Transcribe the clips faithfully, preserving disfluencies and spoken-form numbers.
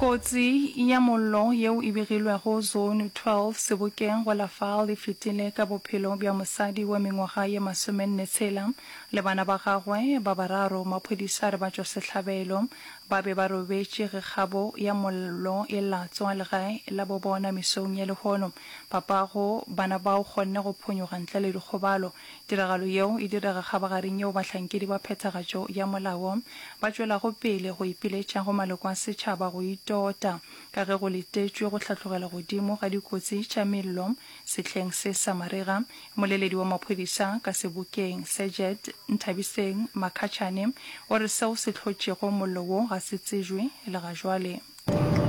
Kotsi ya mollo yeo e begilwego Zone twelve Sebokeng go la Vaal e fetile ka bophelo bja mosadi wa mengwaga ye masomenne tshela le bana ba gagwe ba bararo. Maphodisa a re batšwasehlabelo ba be ba robetše ge kgabo ya mollo e latswa legae la bo bona mesong ya lehono. Papago bana bao kgonne go phonyoga ntle le dikgobalo. Tiragalo yeo e direga kgabagareng yeo bahlankedi ba phethagatšo ya molao ba tšwelago pele go ipiletša go maloko a setšhaba go itota ka ge go letetšwe go hlatlogela godimo ga dikotsi tša mello sehleng se sa marega. Mmoleledi wa maphodisa ka sebokeng, Sergeant Nthabiseng Makhachane, o re seo se hlotšego mollo wo ga se tsejwe le ga jwale.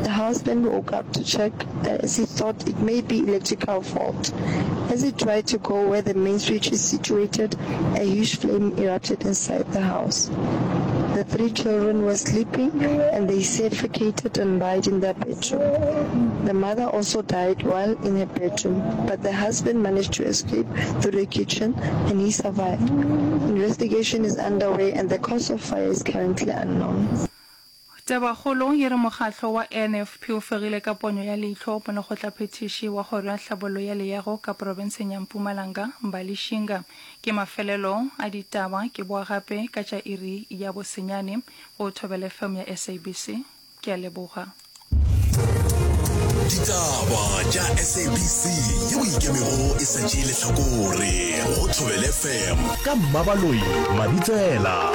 The husband woke up to check as he thought it may be electrical fault. As he tried to go where the main switch is situated, a huge flame erupted inside the house. The three children were sleeping and they suffocated and died in their bedroom. The mother also died while in her bedroom, but the husband managed to escape through the kitchen and he survived. Investigation is underway and the cause of fire is currently unknown. Tabakgolo e re mokgatlo wa N F P o fegile ka ponyo ya leihlo molekgotlaphethiši wa Kgoro ya Tlhabollo ya Leago ka profenseng ya Mpumalanga, Mbali Shinga. Ke mafelelo a ditaba, ke boa gape ka tša iri ya bosenyane go Thobela F M ya S A B C. Ke a leboga. Ditaba tša S A B C yeo e ikemego e sa tšee lehlakore go Thobela F M ka Mmabaloi Mabitsela.